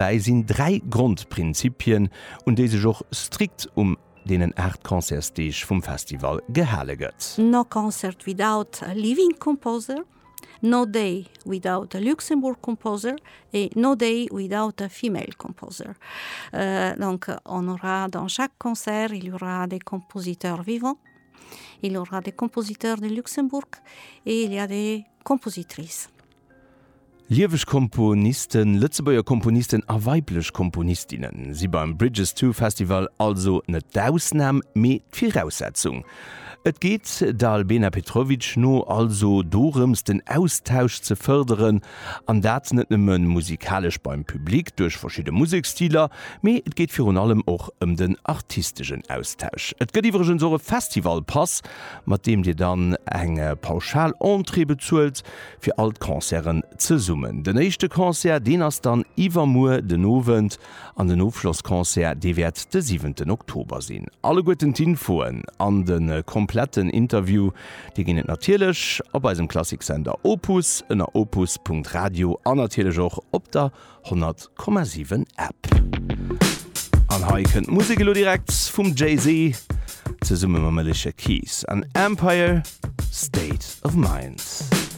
Dobäi sinn 3 Grondprinzipien, un déi sech och strikt um deenen 8 Concertsdeeg vum Festival gehale gëtt. No concert without a living composer, no day without a Luxembourg composer et no day without a female composer. Donc on aura dans chaque concert, il y aura des compositeurs vivants, il y aura des compositeurs de Luxembourg et il y a des compositrices. Lieweg Komponisten, Lëtzebuerger Komponisten a weiblech Komponistinne si beim Bridges To Festival also net d'Ausnam, mee d'Viraussetzung. Et geet der Albena Petrovic no also dorëms, den Austausch ze fërderen, an dat net nëmme musikalesch beim Public duerch verschidde Museksstiler, mee et geet virun allem och ëm den artistegen Austausch. Et gëtt iwwregens och e Festivalpass, mat deem Dir dann eng pauschal Entrée bezuelt, fir all d'Concerten zesummen. Den éischte Concert, deen ass dann iwwermuer den Owend an den Ofschlossconcert, dee wäert de siwenten Oktober sinn. Alleguerten d'Infoen an de kompletten Interview, déi ginn et natierlech op eisem Klassiksender Opus ënner opus.radio an natierlech och op der 100,7 App. An hei kënnt d'Musek elo direkt vum Jay-Z zesumme mam Alicia Keys an Empire State of Mind.